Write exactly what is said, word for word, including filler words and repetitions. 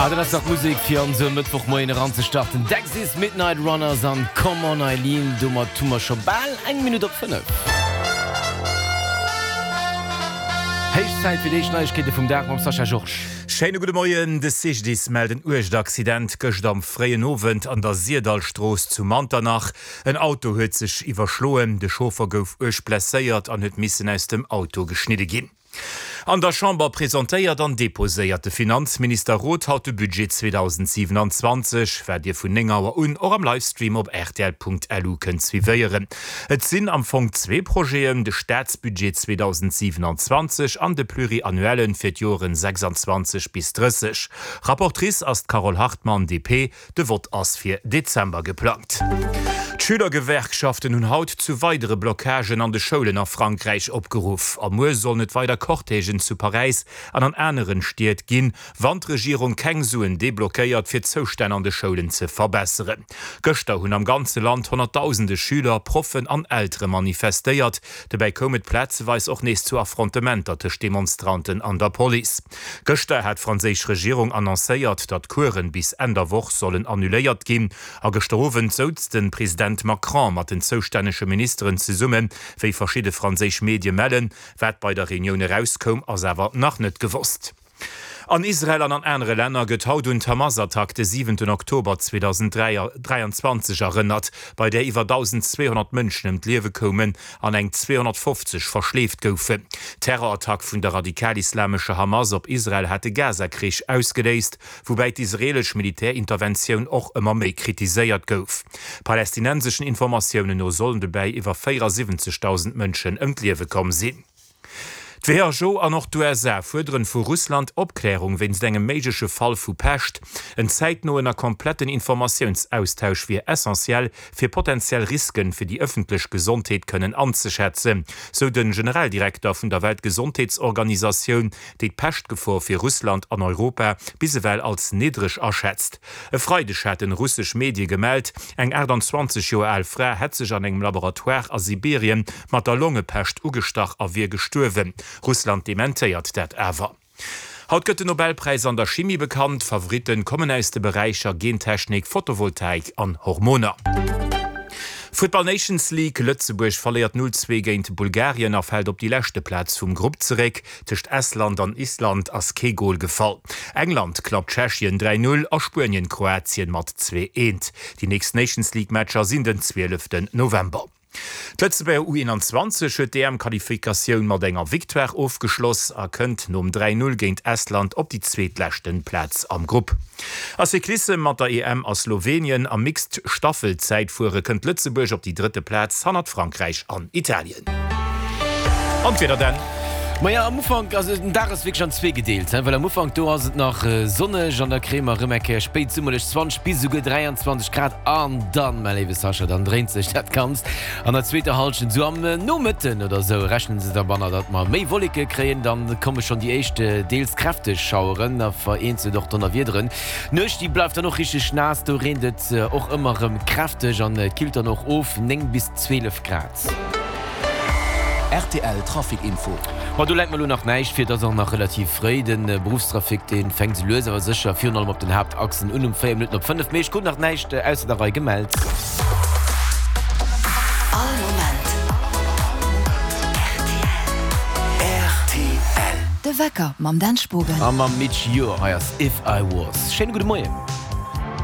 Ah, dat ass dach Musek fir an esou e Mëttwochmoien eranzestarten. Dexys Midnight Runners an Come On Eileen. Domat hu mer scho bal eng Minutt op fënnef. Héich Zäit fir déi éischt Neiegkeete vum Dag mam Sascha Georges. Schéine gudde Moien. De C G D I S mellt en uergt Accident gëscht am fréien Owend an der Sirdallstrooss zu Manternach. En Auto huet sech iwwerschloen, de Chauffer gouf uerg blesséiert an huet missen aus dem Auto geschnidde ginn. An der Chamber presentéiert an deposéiert de Finanzminister Roth haut de Budget zweedausendsiewenanzwanzeg, wat Dir vun néng Auer un och am Livestream op R T L Punkt L U kënnt suivéieren. Et sinn am Fong zwee Projeten, de Staatsbudget zweedausendsiewenanzwanzeg an de Pluriannuellen fir d'Joren sechsanzwanzeg bis drësseg. Rapportrice ass d'Carole Hartmann, D P. De Vott ass fir Dezember geplangt. D'Schülergewerkschaften hunn haut zu weidere Blockagen an de Schoulen a Frankräich opgeruff. A muer sollen et weider Cortègen zu Paräis an an aneren Stied ginn, wann d'Regierung keng Suen deblockéiert, fir d'Zoustänn an de Schoulen ze verbesseren. Gëschter hunn am ganze Land honnertdausende Schüler, Proffen an Eltere manifestéiert. Dobäi koum et plazeweis och nees zu Affrontementer tëscht Demonstranten an der Police. Gëschter hat d'franséisch Regierung annoncéiert, datt Coursen bis Enn der Woch sollen annuléiert ginn. A gëschter Owend souz de President Macron mat den zoustännege Ministeren zesummen, wéi verschidde franséisch Medie mellen. Wat bei der Reunioun erauskoum, ass awer nach net gewosst. An Israel an an anere Länner gëtt haut un d'Hamas-Attack de siwenten Oktober zweedausenddräianzwanzeg erënnert, bei där iwwer dausendzweehonnert Mënschen ëm d'Liewe koumen an eng zweehonnertfofzeg verschleeft goufen. D'Terrorattack vun der radikal-islamescher Hamas op Israel hat de Gaza-Krich ausgeléist, woubäi d'israeelesch Militärinterventioun och ëmmer méi kritiséiert gouf. Palästinenseschen Informatiounen no sollen dobäi iwwer véierasiwwenzegdausend Mënschen ëm d'Liewe komm sinn. D'W H O an och d'U S A fuerderen vu Russland Opklärung wéinst engem méigleche Fall vu Pescht. En zäitnoen a kompletten Informatiounsaustausch wier essentiell, fir potentiell Risken fir déi ëffentlech Gesondheet kënnen anzeschätzen, sou de Generaldirekter vun der Weltgesondheetsorganisatioun, déi d'Peschtgefor fir Russland an Europa bis ewell als niddreg aschätzt. E Freideg haten russesch Medie gemellt, eng aachtanzwanzeg Joer al Fra hätt sech an engem Laboratoire a Sibirien mat der Longepescht ugestach a wier gestuerwen. Russland dementéiert dat awer. Haut gëtt den Nobelpräis an der Chimie bekannt. Favoritten kommen aus de Beräicher Gentechnik, Photovoltaik an Hormoner. Futtball Nations League, Lëtzebuerg verléiert null zwee géint Bulgarien a fält op déi leschte Plaz vum Grupp zeréck. Tëscht Estland an Island ass kee Gol gefall. England klappt Tschechien dräi null a Spuenien Kroatien mat zwee eent. Déi nächst Nations League Matcher sinn den zwieleften November. D'Lëtzebuerger U eenanzwanzeg huet d'E M-Qualifikatioun mat enger Victoire ofgeschloss a kënnt nom dräi null géint Estland op déi zweetleschten Plaz am Grupp. A Cyclissem, Mat der E M a Slowenien am Mixed Staffelzäitfuere kënnt Lëtzebuerg op déi drëtte Plaz hannert Frankräich an Italien. An d'Wieder dann. Maja, am Ufank, also den Dag ass wierklech an zwee gedeelt, well am Ufank do ass et nach sonneg an da kréie mer erëm eng Kéier spéitsummerlech zwanzeg bis esouguer dräianzwanzeg Grad an dann, mäi léiwe Sascha, dann dréint sech dat Ganzt an der zweeter Hallschent, esou am Nomëtten oder esou rechnen se derbanner, datt mer méi Wolleke kréien, dann komme schonn déi éischt deels kräfteg Schaueren a vereenzelt och Donnerwiederen. D'Nuecht, déi bleift dann och richteg naass, do reent et och ëmmer erëm kräfteg an et killt dann och of, néng bis zwielef Grad. R T L Trafic Info. Ma do läit mer elo nach näischt vir, et ass och nach relativ fréi. De Beruffstrafic, dee fänkt sou lues awer sécher virun allem op den Haaptachsen un um véier Minutten op fënnef. Mee ech krut nach näischt ausser der Rei gemellt. All Moment R T L. De Wecker mam Dan Spogen. A mam Midge Ure. Hei ass If I Was. Schéine gudde Moien.